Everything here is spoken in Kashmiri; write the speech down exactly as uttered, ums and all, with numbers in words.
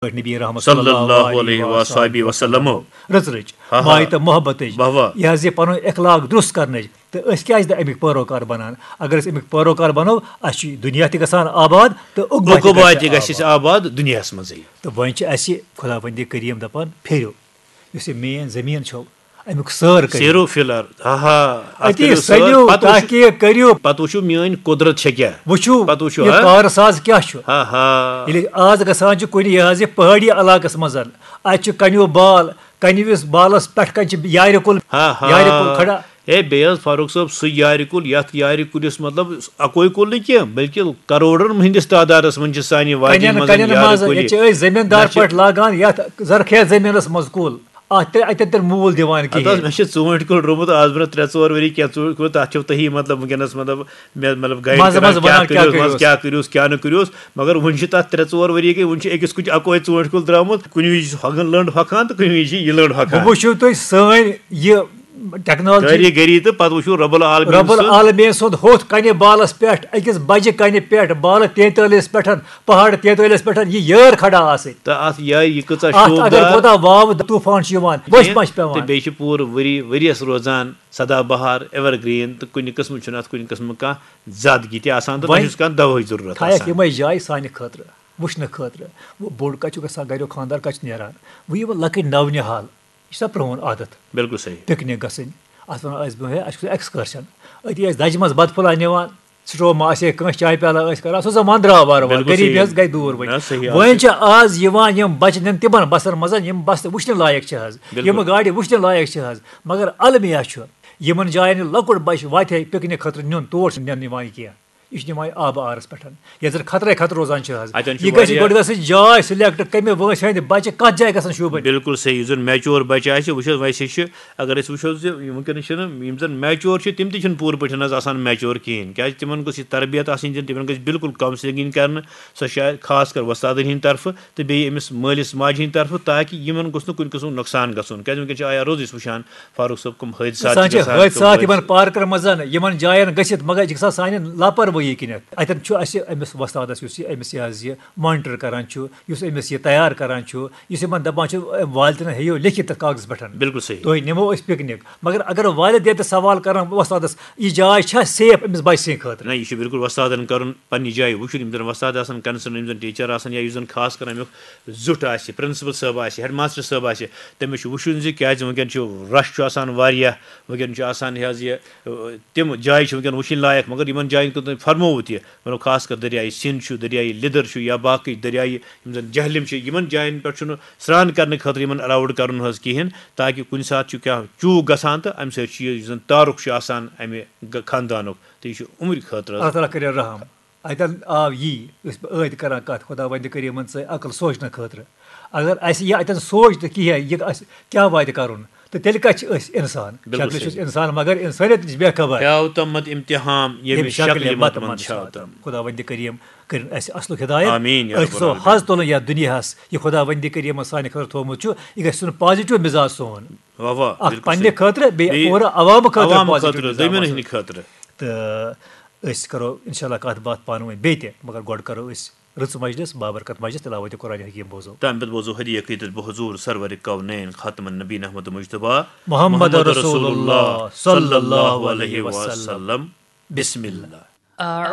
پٲٹھۍ نبی رحمت صلی اللہ علیہ وآلہ وسلم۔ رٕژ رٕچ، ہا ہا۔ مایہِ تہٕ محبتٕچ، واہ واہ۔ یہِ حظ یہِ پنُن اخلاق درست کرنٕچ۔ تہٕ أسۍ کیازِ نہٕ امیِکۍ پٲروکار بنان؟ اگر أسۍ امیِکۍ پٲروکار بنو، اسہِ چھُ دُنیا تہِ گژھان آباد تہٕ عقبہ تہِ عقبہ گژھِ تہِ گژھِ اسہِ آباد۔ آباد دُنیاہس منٛزٕے۔ تہٕ وۄنۍ چھِ اسہِ خداوندِ کریم دپان، پھیرِو، یُس یہِ مین زٔمیٖن چھو، امیُک سٲر کٔرِو۔ سیرو فی الارض، ہا ہا، اتھ اتی کٔرِو سٲر، سٔلِو، پتہٕ وٕچھِو، تحقیق کٔرِو۔ پتہٕ وٕچھِو میٲنۍ قدرت چھےٚ کیٛاہ۔ وٕچھِو، پتہٕ وٕچھِو، یہِ ہا؟ کارٕ ساز کیٛاہ چھُ۔ ہا ہا۔ ییٚلہِ آز گژھان چھُ کُنہِ، یہِ حظ یہِ پہٲڑی علاقس منٛز، اتہِ چھُ کنیو بال، کنہِ وِس بالس پٮ۪ٹھ کنہِ چھِ یارِ کُل، ہا ہا۔ یارِ کُل کھڑا۔ ہے، بیٚیہِ حظ فاروق صٲب، سُہ یارِ کُل، یتھ یارِ کُلِس مطلب اکوے کُل نہٕ کینٛہہ، بلکہِ کرورن ہٕنٛدِس تعدادس منٛز چھِ سانہِ وادی کنٮ۪ن، منٛز کنٮ۪ن یارِ منٛز کُلۍ۔ ییٚتہِ چھِ أسۍ زٔمیٖندار نہ چھِ پٲٹھۍ لاگان یتھ زرخیز زٔمیٖنس منٛز کُل۔ اتھ تہِ، اتٮ۪ن تہِ نہٕ موٗل دِوان ہتہٕ حظ، کِہیٖنۍ۔ مےٚ چھِ ژوٗنٛٹھۍ کُل روٚمُت آز برونٛہہ ترٛےٚ ژور ؤری، کینٛہہ ژوٗنٛٹھۍ کُل، تتھ چھِو تُہی مطلب وٕنکیٚنس مطلب مےٚ مطلب گایڈ منٛزٕ کران، منٛزٕ کیٛاہ ونان، کیٛاہ کٔرِوس، منٛزٕ کٔرِوس؟ کیٛاہ کٔرِوس، کیٛاہ نہٕ کٔرِوس۔ مگر وُنہِ چھِ تتھ ترٛےٚ ژور ؤری گٔے، وُنہِ چھِ أکِس کُٹھِ اکوے ژوٗنٛٹھۍ کُل درٛامُت، کُنہِ وِزِ چھُ ہۄگُن لٔنٛڈ ہۄکھان تہٕ کُنہِ وِزِ چھِ یہِ لٔنٛڈ ہۄکھان۔ بہٕ وٕچھِو تُہۍ سٲنۍ یہِ ٹیکنالوجی۔ کٲریٖگٔری تہٕ پتہٕ وٕچھِو رب العالمیٖن رب سٕنٛز۔ العالمیٖن سُنٛد ہوٚتھ کنہِ بالس پٮ۪ٹھ، أکِس بجہِ کنہِ پٮ۪ٹھ، بالہٕ تینتٲلیس پٮ۪ٹھ، پہاڑ تینتٲلیس پٮ۪ٹھ یہِ یٲر کھڑا آسٕنۍ۔ تہٕ اتھ یہِ، یہِ کۭژاہ اتھ اگر شوٗبدار۔ کوتاہ واوٕ طوٗفان چھُ یِوان، بٔسۍ کینٛہہ ما چھِ پٮ۪وان؟ تہٕ بیٚیہِ چھِ پوٗرٕ ؤری، ؤریَس روزان سدا بہار، ایور گرین، تہٕ کُنہِ قٕسمہٕ چھُنہٕ اتھ کُنہِ قٕسمہٕ کانٛہہ زیادگی تہِ آسان تہٕ نہ وۄنۍ چھُس کانٛہہ دوہٕچ ضروٗرت تھایَکھ آسان۔ یِمے جایہِ سانہِ خٲطرٕ، وٕچھنہٕ خٲطرٕ۔ وۄنۍ بوٚڑ کتہِ چھُ گژھان، گریُک خانٛدار کتہِ چھُ نیران؟ وۄنۍ یِم لۄکٕٹۍ نو نہال، یہِ چھُ سا پرٛون عادت؟ بِلکُل صحیح۔ پِکنِک گژھٕنۍ، اَتھ وَنان ٲسۍ برٛونٛہہ، ہے، اَسہِ چھُ excursion۔ أتی ٲسۍ دَجہِ منٛز بَتہٕ پھوٚلہ نِوان، سٹوو ما آسہِ ہے کٲنٛسہِ، چایہِ پیالہ ٲسۍ کَران، سُہ زَمانہٕ درٛاو وارٕ وارٕ، بِلکُل غریٖبی صحیح۔ حظ گٔے دوٗر وۄنۍ۔ نہ، صحیح حظ وۄنۍ چھِ۔ چھِ آز یِوان یِم بَچہِ نِنہٕ تِمَن بَسَن منٛز، یِم بَسہٕ وٕچھنہِ لایق چھِ حظ، بِلکُل۔ یِم گاڑِ وٕچھنہِ لایق چھِ حظ، مگر المیہ چھُ، یِمَن جایَن یہِ لۄکُٹ بَچہِ واتہِ ہے پِکنِک خٲطرٕ نیُن، تور چھُنہٕ نِنہٕ یِوان یہِ کینٛہہ۔ یہِ چھُ نِوان آبہٕ آرَس پٮ۪ٹھ، یَتھ زَن خطرے خطرٕ روزان چھِ حظ۔ اَتٮ۪ن چھُ یہِ گژھِ واریاہ گۄڈٕ گژھٕنۍ جاے select، کَمہِ وٲنٛسہِ ہٕنٛدِ بَچہِ کَتھ جایہِ گژھن شوٗبٕنۍ۔ بِلکُل صحیح، یُس زَن mature بَچہِ آسہِ، وٕچھ حظ، ویسے چھِ، اگر أسۍ وٕچھو زِ وٕنکیٚنَس چھِنہٕ، یِم زَن mature چھِ، تِم تہِ چھِنہٕ پوٗرٕ پٲٹھۍ حظ آسان mature کِہیٖنۍ، کیٛازِ تِمَن گوٚژھ یہِ تربیت آسٕنۍ دِنہٕ، تِمَن گژھِ بِلکُل counselling یِنۍ کَرنہٕ، سۄ چھِ خاص کر وۄستادَن ہِنٛدِ طرفہٕ تہٕ بیٚیہِ أمِس مٲلِس ماجہِ ہِنٛدِ طرفہٕ، تاکہِ یِمَن گوٚژھ نہٕ کُنہِ قٕسمُک نۄقصان گژھُن، کیٛازِ وٕنکیٚن چھِ آیا روز أسۍ وٕچھان، فاروق صٲب، کٕم حٲدثات گژھان چھِ چھِ گژھان، کٕم حٲدثات یِمن حٲدثہٕ۔ پارکن منٛز، یِمن جاین گٔژھِتھ، مگر یہِ چھِ گژھان سانہِ لاپروٲہی کِنٮ۪تھ۔ اتٮ۪ن چھُ اسہِ أمِس وۄستادس، یُس یہِ أمِس یہِ حظ یہِ monitor کران چھُ، یُس أمِس یہِ تیار کران چھُ، یُس یِمن دپان چھُ، "أمۍ والدینن ہیٚیِو لیکھِتھ تتھ کاغذس پٮ۪ٹھ، بِلکُل صحیح۔ تُہۍ نِمو أسۍ پِکنِک۔" مگر اگر والدین تہِ سوال کرن وۄستادس، "یہِ جاے چھا safe أمِس بچہٕ سٕنٛدِ خٲطرٕ؟" نہ، یہِ چھُ بِلکُل وۄستادن کرُن پننہِ جایہِ وٕچھُن، یِم زن وۄستاد آسن، concern، یِم زن teacher آسن یا یُس زن خاص کر امیُک زیُٹھ آسہِ، principal صٲب آسہِ، headmaster صٲب آسہِ، تٔمِس چھُ وٕچھُن زِ کیٛازِ وٕنکیٚن چھُ rush چھُ آسان واریاہ، وٕنکیٚن چھُ آسان یہِ حظ یہِ، تِم جایہِ چھِ وٕنکیٚن وٕچھِنۍ لایق، مگر یِمَن جایَن کیُتھ تۄہہِ فرمووُ تہِ، مطلب خاص کر دٔریاے سِنٛد چھُ، دٔریاے لیٚدٕر چھُ یا باقٕے دٔریاے یِم زَن جہلِم چھِ، یِمَن جایَن پٮ۪ٹھ چھُنہٕ سرٛان کَرنہٕ خٲطرٕ یِمَن allowed کَرُن حظ کِہیٖنۍ، تاکہِ کُنہِ ساتہٕ چھُ کینٛہہ چوٗک گژھان تہٕ اَمہِ سۭتۍ چھُ یہِ یُس زَن تعارُف چھُ آسان اَمہِ گہ-، خاندانُک، تہٕ یہِ چھُ عمرِ خٲطرٕ حظ۔ اللہ تعالیٰ کٔرِنۍ رحم۔ اتٮ۪ن آو یی، أسۍ ٲدۍ کران کتھ، خۄداوندِ کریٖمن ژٲے عقل سونٛچنہٕ خٲطرٕ۔ اگر اسہِ یہِ اتٮ۪ن سونٛچ نہٕ کینٛہہ، یہِ اسہِ کیٛاہ واتہِ کرُن، تہٕ تیٚلہِ کتہِ چھِ أسۍ انسان؟ بِلکُل شکلہِ چھِ أسۍ صحیح۔ انسان، مگر انسٲنیت نِش بے خبر۔ کیٛاہ تمت امتحان، ییٚمہِ ییٚمہِ شکلہِ شکلہِ متمن متمن چھا چھا تم۔ تم۔ خۄداوندِ کریم کٔرِن اسہِ اصلُک ہدایت۔ آمین یا أسۍ رب گژھو العالمین۔ حظ تُلُن یتھ دُنیاہس، یہِ خۄداوندِ کریمن سانہِ خٲطرٕ تھوٚومُت چھُ، یہِ گژھِ سون positive مزاج سون۔ واہ واہ، اکھ بِلکُل پننہِ صحیح۔ خٲطرٕ، بیٚیہِ بیٚیہِ پوٗرٕ عوامہٕ خٲطرٕ عوامہٕ positive خٲطرٕ، مزاج۔ دوٚیمٮ۪ن ہٕنٛدِ خٲطرٕ۔ تہٕ أسۍ کرو انشاءاللہ کتھ باتھ پانہٕ ؤنۍ بیٚیہِ تہِ، مگر گۄڈٕ کرو أسۍ رٕژ مجلس، بابرکت مجلس، تلاوت قرآن حکیم بوزو۔ تَمہِ پتہٕ بوزو ہدیہ قیدت بحضور سرور کونین خاتم النبین احمد مجتبیٰ محمد رسول اللہ صلی اللہ علیہ وسلم۔ بسم اللہ۔